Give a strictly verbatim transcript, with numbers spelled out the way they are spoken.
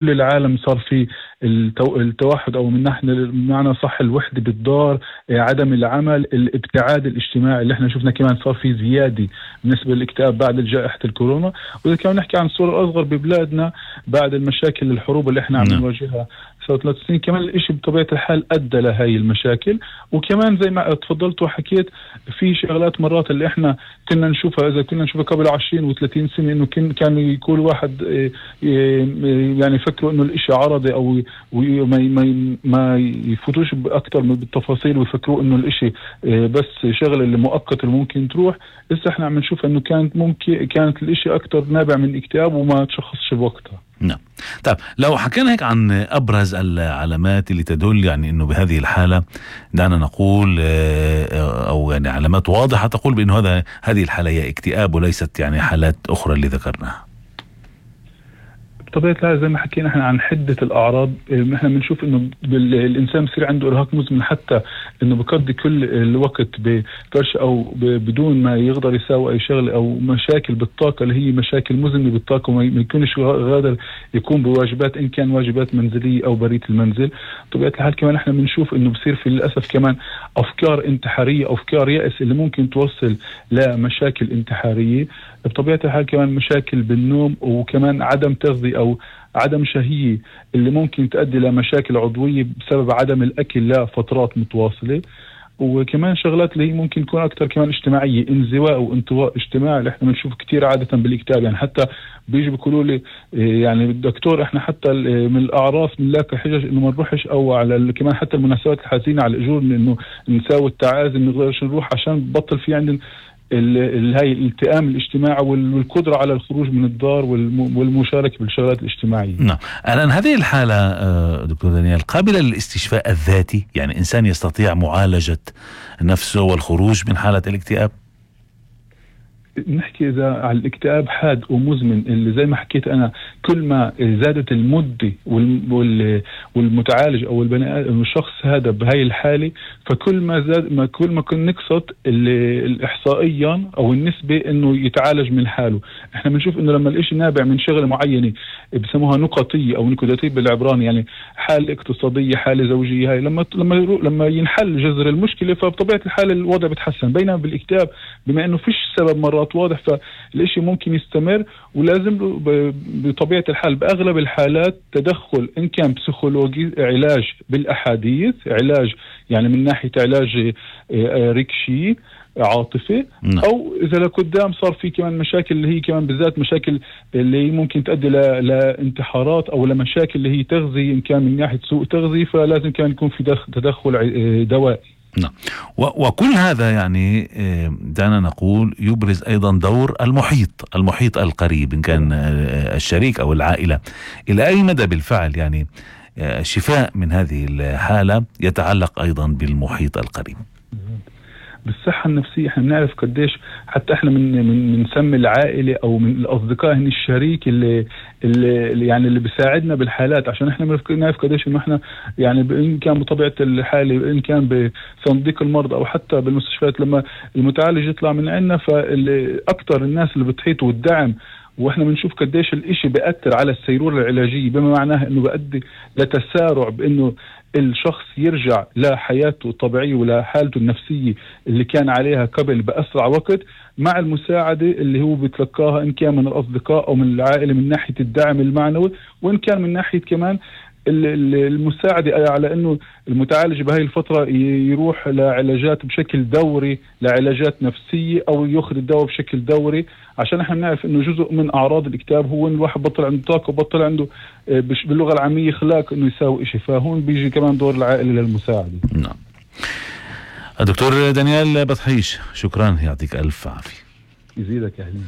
كل العالم صار في التو... التوحد، او من نحن بمعنى صح الوحده بالدار، عدم العمل، الابتعاد الاجتماعي اللي احنا شفنا كمان صار في زياده بالنسبه للاكتئاب بعد جائحه الكورونا. واذا كان نحكي عن الصوره الاصغر ببلادنا بعد المشاكل الحروب اللي احنا عم نواجهها صار ثلاث سنين، كمان الاشي بطبيعه الحال ادى لهي المشاكل. وكمان زي ما تفضلت وحكيت في شغلات مرات اللي احنا كنا نشوفها، اذا كنا نشوفها قبل عشرين وثلاثين سنه، انه كان يكون واحد يعني يفكروا انه الاشي عرضي او وما ما ما يفوتوش باكثر من بالتفاصيل ويفكروا انه الاشي بس شغله اللي مؤقت اللي ممكن تروح. لسه احنا عم نشوف انه كانت ممكن كانت الاشي اكثر نابع من اكتئاب وما تشخصش بوقتها. نعم. طيب لو حكينا هيك عن ابرز العلامات اللي تدل يعني انه بهذه الحاله، دعنا نقول او يعني علامات واضحه تقول بانه هذا هذه الحاله هي اكتئاب وليست يعني حالات اخرى اللي ذكرناها. بطبيعة الحال زي ما حكينا احنا عن حدة الأعراض، احنا بنشوف انه الإنسان بصير عنده إرهاق مزمن، حتى انه بقضي كل الوقت بفرش او بدون ما يقدر يساوي أي شغلة، أو مشاكل بالطاقة اللي هي مشاكل مزمنة بالطاقة، وما يكونش قادر يكون بواجبات إن كان واجبات منزلية أو برية المنزل. بطبيعة الحال كمان احنا بنشوف انه بصير في للأسف كمان أفكار انتحارية، أفكار يأس اللي ممكن توصل لمشاكل انتحارية. بطبيعة الحال كمان مشاكل بالنوم، وكمان عدم تغذية أو عدم شهية اللي ممكن تؤدي لمشاكل عضوية بسبب عدم الأكل لفترات متواصلة. وكمان شغلات اللي هي ممكن تكون أكتر كمان اجتماعية، انزواء وانطواء اجتماعي اللي احنا بنشوف كتير عادة بالاكتئاب. يعني حتى بيجي بيقولوا لي يعني الدكتور احنا حتى من الأعراس بنلاقي حجج انه ما نروحش، او على كمان حتى المناسبات الحزينة على الأجور انه نساوي التعازي ما نقدرش نروح عشان بطل في عندنا هاي الالتئام الاجتماعي والقدرة على الخروج من الدار والمشاركة بالشغلات الاجتماعية. نعم. الآن هذه الحالة دكتور دانيال قابلة للاستشفاء الذاتي؟ يعني إنسان يستطيع معالجة نفسه والخروج من حالة الاكتئاب؟ نحكي إذا على الاكتئاب حاد ومزمن اللي زي ما حكيت أنا، كل ما زادت المدة والمتعالج أو البني آدم الشخص هذا بهاي الحالة، فكل ما زاد ما كل ما كن نقصت الإحصائيا أو النسبة إنه يتعالج من حاله. إحنا بنشوف إنه لما الإشي نابع من شغلة معينة بسموها نقطية أو نكوداتية بالعبراني، يعني حالة اقتصادية، حالة زوجية، هاي لما لما لما ينحل جذر المشكلة فبطبيعة الحال الوضع بتحسن. بينما بالاكتئاب بما إنه فيش سبب مرات واضح فالإشي ممكن يستمر، ولازم بطبيعة الحال بأغلب الحالات تدخل إن كان بسيكولوجي، علاج بالأحاديث، علاج يعني من ناحية علاج ريكشي عاطفي، أو إذا لقدام صار في كمان مشاكل اللي هي كمان بالذات مشاكل اللي ممكن تؤدي لانتحارات أو لمشاكل اللي هي تغذية إن كان من ناحية سوء تغذية، فلازم كمان يكون في تدخل دوائي. نعم. وكل هذا يعني دعنا نقول يبرز أيضا دور المحيط المحيط القريب إن كان الشريك أو العائلة. إلى أي مدى بالفعل يعني الشفاء من هذه الحالة يتعلق أيضا بالمحيط القريب؟ بالصحة النفسية احنا بنعرف قديش حتى احنا من من بنسمي العائلة او من الاصدقاء هن الشريك اللي, اللي يعني اللي بيساعدنا بالحالات، عشان احنا بنعرف قديش انه احنا يعني ان كان بطبيعة الحالة ان كان بصندوق المرضى او حتى بالمستشفيات لما المتعالج يطلع من عندنا، فاكثر الناس اللي بتحيط والدعم، واحنا بنشوف قديش الاشي بيأثر على السيرورة العلاجية، بما معناه انه بيؤدي لتسارع بانه الشخص يرجع لحياته الطبيعية ولحالته النفسية اللي كان عليها قبل بأسرع وقت، مع المساعدة اللي هو بيتلقاها إن كان من الأصدقاء أو من العائلة من ناحية الدعم المعنوي، وإن كان من ناحية كمان المساعدة على أنه المتعالج بهاي الفترة يروح لعلاجات بشكل دوري، لعلاجات نفسية، أو يأخذ الدواء بشكل دوري، عشان احنا نعرف أنه جزء من أعراض الاكتئاب هو أن الواحد بطل عنده طاقة وبطل عنده باللغة العامية خلاق أنه يساوي إشي، فهون بيجي كمان دور العائلة للمساعدة. نعم. الدكتور دانيال بطحيش، شكرا، يعطيك ألف عافية. يزيدك يا حبيبي.